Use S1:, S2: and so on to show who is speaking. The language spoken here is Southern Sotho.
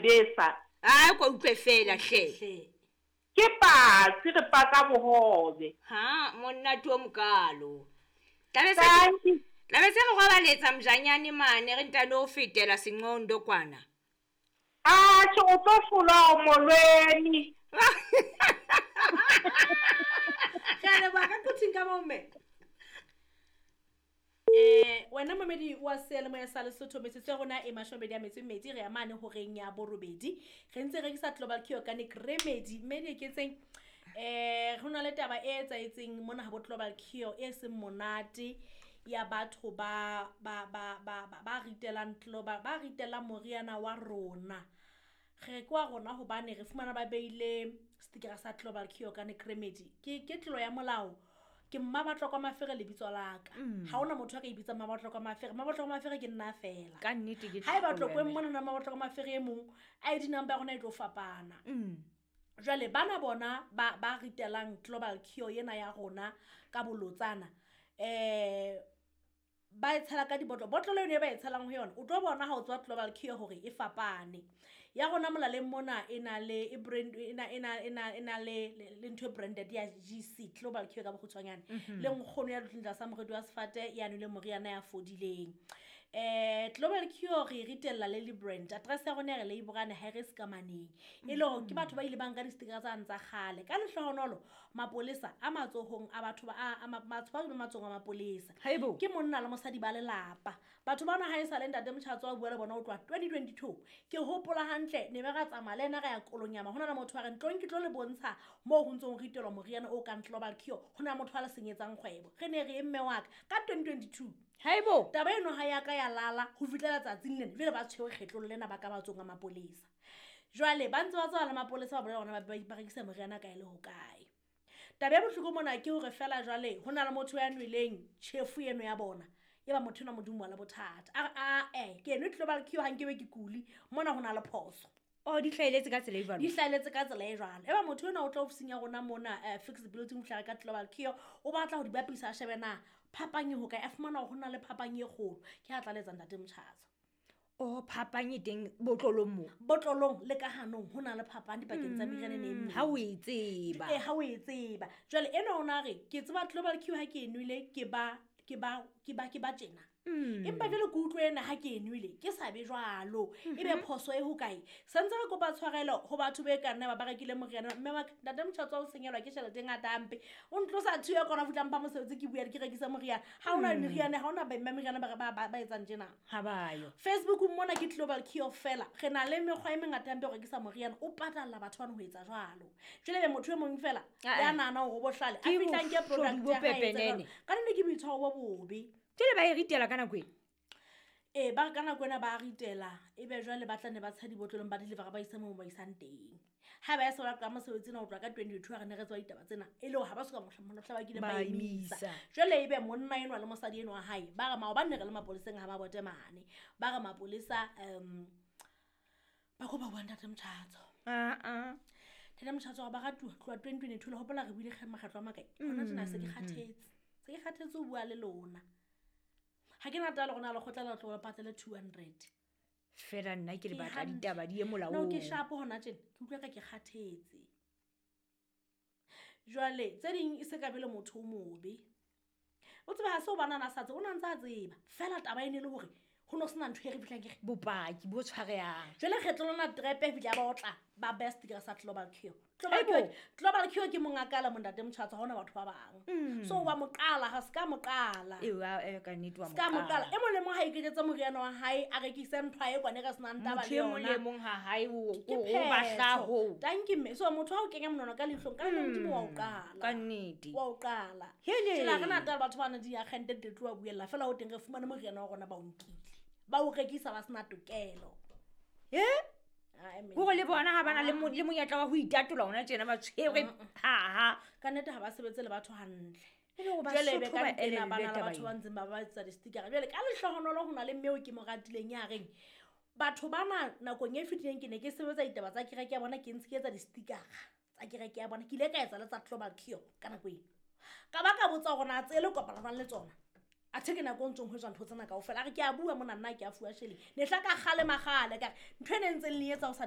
S1: Besa.
S2: A ko utlwe feela hle.
S1: Ke patsi re paka bohobe.
S2: Ha monate o mokalo. Tlabe se re robaletsa mjanyane mane re ntano o fetela senqondo kwana.
S1: Atjhe o tlo hlolwa molweni.
S3: Re a leboha ka quthing ka moo mme. Wena momedi wa seyalemoya sa Lesotho, metsotso ya rona e 28 re ya mane horeng ya borobedi. Re ntse re rekisa Global Cure Organic Remedy. Mme di eketseng ho na le taba e etsahetseng mona ha bo Global Cure e seng monate ya batho ba ba ba ba ba ritelang global ba ritelang moriana wa rona. Re ke wa rona hobane re fumana ba beile stickera sa Global Cure Organic Remedy. Ke tlolo ya molao. Ke Mmabatlokwa Mafere lebitso la ka. Ha hona motho a ka ibitsa Mmabatlokwa Mafere. Mmabatlokwa Mafere ke nna feela.
S2: Ka nnete ke
S3: Ha eba Tlokweng mona na Mmabatlokwa Mafere e mong, ID number ya rona e tlo fapana. Jwale bana bona ba ritelang Global Cure yena ya rona ka bolotsana. Ba e tshela ka dibotlolo. Botlolo eno e ba e tshelang ho yona, o tlo bona ha o tswa Global Cure hore e fapane. Ya rona molaleng mona e na le e brand e na e na e na e na le le ntho e branded ya GC Global Cure ka bokgutshwanyane. Le nkgono ya dutseng tlasa moriti wa sefate ya nweleng moriana ya fodileng. Global Cure re ritella le le brand. Address ya rona ya re Leiborane ha re sekamaneng. E le hore ke batho ba ile ba nka di-sticker tsane tsa kgale. Ka lehlohonolo mapolesa a matsohong a batho ba a batho ba matsohong a mapolesa.
S2: Haebo.
S3: Ke monna le mosadi ba lelapa. Batho bana ha e sa le ntate Motjhatso wa bua le bona ho tloha 2022. Ke hopola hantle ne be ra tsamaya le ena re ya Kolonyama. Ho na le motho a re ntlong ke tlo le bontsha moo ho ntsong ho ritelwa moriana o kang Global Cure. Ho na motho a le senyetsang kgwebo. Re ne re mme wa ka ka 2022.
S2: Haebo.
S3: Taba eno ha ya ka ya lala ho fihlela tsatsing lena. Jwale ba tshwere kgetlong lena ba ka matsong a mapolesa. Jwale ba ntse ba tswa le mapolesa ba bolela hore ba rekisa moriana kae le hokae. Taba e bohloko mona ke hore feela jwale ho na le motho ya nweleng tjhefu eno ya bona. Eba motho enwa Modimo wa le bothata. A re ke enwe Global Cure ha nkebe ke kuli. Mona ho na le phoso.
S2: Oh, di hlahelletse ka tsela e jwalo.
S3: Di hlahelletse ka tsela e jwalo. Eba motho enwa o tla ofising ya rona mona flexibility ho fihla ka Global Cure, o batla ho di bapisa a shebe na phapang e hokae, a fumana hore ho na le phapang e kgolo. Ke ha tlaletsa ntate Motjhatso.
S2: Oh, phapang e teng botlolong moo.
S3: Botlolong le ka hanong ho na le phapang dipakeng tsa meriana e meng.
S2: Ha o e tseba.
S3: Ha o e tseba. Jwale enwa o na re ke tseba Global Cure ha ke e nwele ke ba ke ba ke ba ke ba tjena. Empa jwale ke utlwe ena ha ke e nwele ke sa be jwalo. Ebe phoso e hokae? Santse re kopa tshwarelo ho batho be ka nna ba rekile moriana. Mme wa ka ntate Motjhatso o senyelwa ke tjhelete e ngata hampe. O ntlosa thuo ya kona fihla mpha mosebetsi ke bua ke rekisa moriana. Ha hona meriana, ha hona ba meriana ba etsang tjena.
S2: Ha ba yo.
S3: Facebook mona ke Global Cure fela. Re na le mekgwa e mengata hampe ho rekisa moriana. O patalla batho bana ho etsa jwalo. Jwale be motho e mong fela ya nahana hore o bohlale. A fihlang ke product ya hae etsa jwalo. Ka nnete ke boitshwaro bo bobe.
S2: Jwale ba e ritela ka nako e?
S3: Ba ka nako ena ba ritela. Ebe jwale ba tla ne ba tsha dibotlolong ba deliver ba isa moo ba isang teng. Ha ba ya se ba ka mosebetsi ena ho tloha ka 2022 ha re ne re tswa ditaba tsena. E le hore ha ba soka mohla ba kileng ba emisa. Jwale ebe monna enwa le mosadi enwa wa hae ba re maobane re le mapoleseng ha ba bote mane. Ba re mapolesa ba kopa bua ntate Motjhatso. Ntate Motjhatso ba ratuwa tloha 2022 le hopola re buile makgetlo a makae. Hona tjena se ke kgathetse. Se ke kgathetse ho bua le lona. Ha ke na taba le rona lekgotla la tlo patale 200.
S2: Fela nna ke le batla ditaba di ye molaong.
S3: No ke shapo hona tjena, ke utlwa ka ke kgathetse. Jwale tse ding e se ka be le motho o mobe. O tseba ha se o bana na sa tsebe, o na ntse a tseba. Fela taba e ne le hore ho no sena ntho e re fihlang ke re
S2: bopaki bo tshwarehang.
S3: Jwale kgetlo lona trepe e fihla ba otla ba best ke sa Global Cure. Global Cure ke monga kala montate Motjhatso ha hona batho ba bang. So wa moqala ha ska moqala.
S2: Ka nnete wa
S3: Ska moqala. E mong le mong ha iketsetse moriana wa hae a rekise ntho e kwane re senang taba le
S2: yona. Motho e mong le mong ha hae o batla ho.
S3: Thank you mme. So motho ha o kenya monwana ka leihlong ka le Modimo wa o qala.
S2: Ka nnete.
S3: Wa o qala. Tjela re na taba batho ba na di agente di tloa buella fela ho teng re fumane moriana wa rona ba o nkile. Ba o rekisa ba sena tokelo.
S2: Hore le bona ha bana le monyetla wa ho itatola hona tjena ba tshwere ha.
S3: Ka nnete ha ba sebetse le batho hantle.
S2: Jwale
S3: be ka ntena bana le batho ba ntseng ba ba etsa di-sticker. Jwale ka lehlohonolo ho na le mme o ke mo ratileng ya reng batho bana nakong e fetileng ke ne ke sebetsa ditaba tsa kereke ya bona, ke ntse ke etsa di-sticker tsa kereke ya bona. Ke ile ka etsa le tsa Global Cure ka nako eno. Ka ba ka botsa hore na tse le kopana jwang le tsona. Athe ke nako e ntsong ho etswa ntho tsena kaofela. A re ke a bua mona nna ke a fuwa sheleng. Ne hla ka kgale makgale ka re ntho e ne ntseng le etsa ho sa ne